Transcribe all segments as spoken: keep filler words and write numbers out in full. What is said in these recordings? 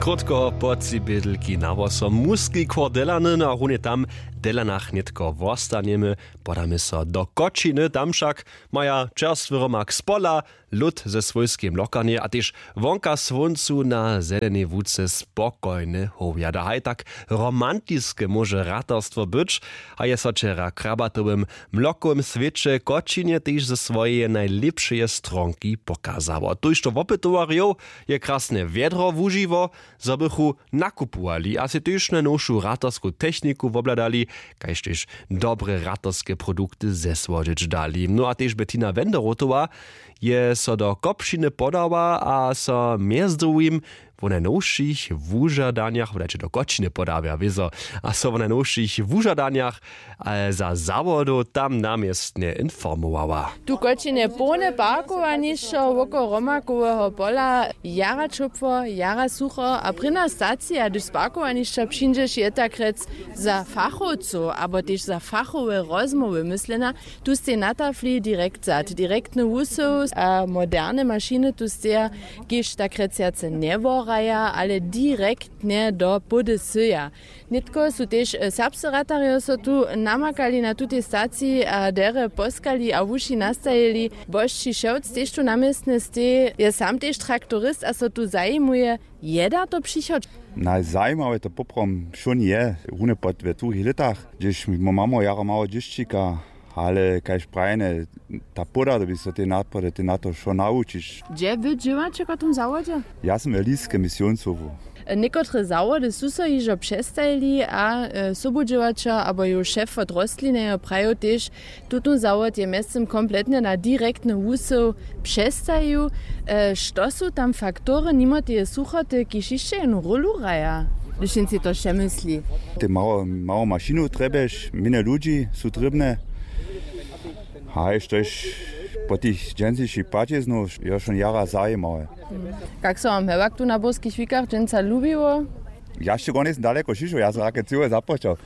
Krótko po tři bědlki na wosom muski chór Delany, no a runje tam w Delanach nětko wostanjemy. Podamy so do Kočiny, tam wšak maja čerstwy rymak z pola, lód ze swójskej mlokarnje a tež wonka słóncu na zelenej łuce spokojne howjada. Haj tak romantiske móže ratarstwo być, a je so wčera w krabatowym mlokowym swěće Kočinje tež ze swojeje najlěpšeje stronki pokazało. Tójšto wopytowarjow je krasne wjedro wužiło, zo bychu nakupowali a sej tež najnowšu ratarsku techniku wobhladali, kaž tež dobre ratarske produkty zesłodźeć dali. No a tež Bettina Wenderotowa je so do Kopšiny podała a so mjez druhim wo najnowšich wužadanjach, wodajće do Kočiny podała wězo, a so wo najnowšich wužadanjach, e, za zawodow tam na městnje informowała. Tu w Kočinje połne parkowanišćo woko Romakoweho pola, jara ćopło, jara sucho a prěna stacija, hdyž z parkowanišća přińdźeš, je tak rjec za fachowcow abo tež za fachowe rozmołwy myslena. Tu stej na tafli direkt sad, direktny wusył a moderne mašiny tu steja, kiž tak rjec wjace njeworaja, ale direktnje do pody syja. Nětko su tež, e, serbscy ratarjo so tu namakali na tutej staciji a derje poskali a wuši nastajili. Bosći Šewc tež tu na městnje steji, je sam tež traktorist a so tu zajimuje, je da to přichod? Najzajimawe to poprawom wšón je runje pod we druhich lětach, hdźež my mamy jara mało dźěsćika, ale kaž prajene, ta pôda, to by so te nadpady, te na to wšo nawučić. Hdźe wy dźěłaće w tym zawodźe? Ja sym we Liske misionsowcu. Někotre zawody su so hižo přestajili a, e, sobudźěłaćer abo jejich šef wot rostlinejo prajił tež, tutón zawod je mjeztym kompletnje na direktny wusył přestajił. E, što su tam faktory nimo teje suchoty, kiž hišće jednu rólu hraja, hdyž jim sej to přemysli? Te mało, mało mašinow trjebješ, mjenje ludźi su trěbne. Haj, štož po tych dźensnišich płaćiznow je wšón jara zajimawe. Kak so wam hewak tu na burskich wikach dźensa lubiło? Ja sće gornje sym daleko šišoł, ja sym rake cyłe započał.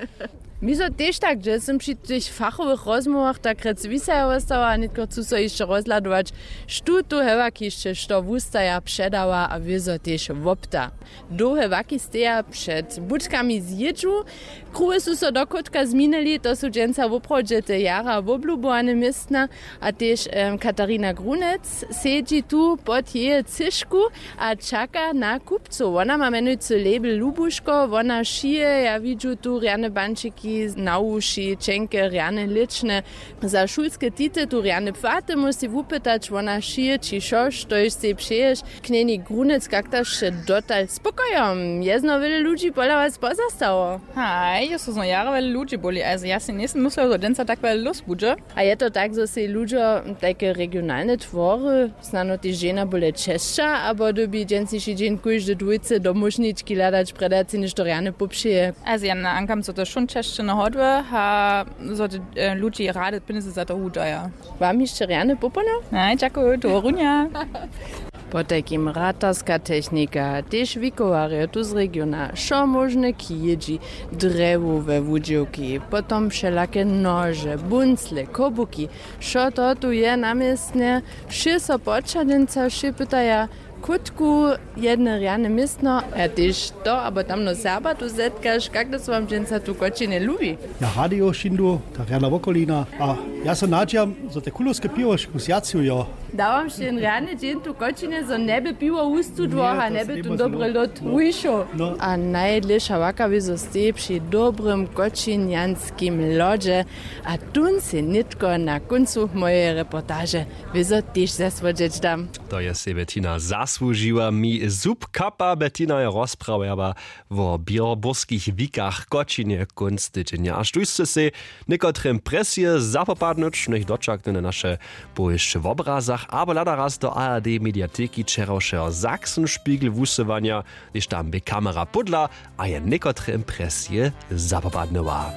Mi so tež tak, hdźe sym při tych fachowych rozmołwach tak rjec wisajo wostała a nětko chcu so hišće rozhladować, štó tu hewak hišće što wustaja, předawa a wězo tež wopta. Dołhe waki steja před budkami z jědźu. Kruhy su so dochódka změnili, to su dźensa woprawdźe te jara woblubowane městna. A tež, em, Katarina Grunec sedźi tu pod jeje třěšku a čaka na kupcow. Wona ma mjenujcy label Lubuško, wona šije, ja widźu tu rjane bančiki na wuši, ćenke, rjane lěčne. Za šulske tity tu rjane płaty móhł sej wupytać, wona šije ći wšo, štož sej přeješ. Knjeni Grunec, kak ta sće dotal? Spokojom, je znowu wjele ludźi pola was pozastało. Haj, jo, so znowu jara wjele ludźi boli, also ja sej njejsym myslił, zo dźensa tak wjele lós budźe. A je to tak, zo sej ludźo tajke regionalne twory, snano tež žena bóle česća, abo dyrbi dźensniši dźeń kóždy dwójce do móžnički hladać, prjedy sej něšto rjane popřeje? Also ja nahankam, zo to wšón česće na hodłe, a zo te, e, ludźi rady pjenjezy za to wudaja. Wam hišće rjane popolno. Haj, dźakuju, do runja. Potajkim ratarska technika, tež wikowarjo tu z regiona, wšo móžne kijědźi, drjewowe wudźěłki, potom wšelake nože, buncle, kobuki, wšo to tu je na městnje. Wšě so počadźenca, wšě pytaja, kótku jedne rjane městno, a tež to abo tamno Serba tu zetkaš, kak to so wam dźensa tu w Kočinje lubi? Ja radio šindu, ta rjana wokolina, a ja so nadźijam, zo te kulowske piwo škósjaciju jo. Da wam sće jen rjany dźeń tu w Kočinje, zo njeby piwo wustudło a njeby tón dobry lód wušoł. A najdlěša waka wězo steji při dobrym kočinjanskim lodźe. A tón sej nětko na kóncu mojeje reportaže wězo tež zesłodźeć dam. To je sej Bettina zasłužiła. Mi zub kapa, Bettina je rozprawjała wo běrboskich wikach w Kočinje kónc tydźenja. A štóž sće sej někotre impresije zapopadnyć, njech dočakny na naše powěsće w obrazach abo hlada raz do A R D mediateki wčerawšeho Sachsenspiegel wusyłanja, hdyž tam bě kamera pódla a je někotre impresije zapopadnyła.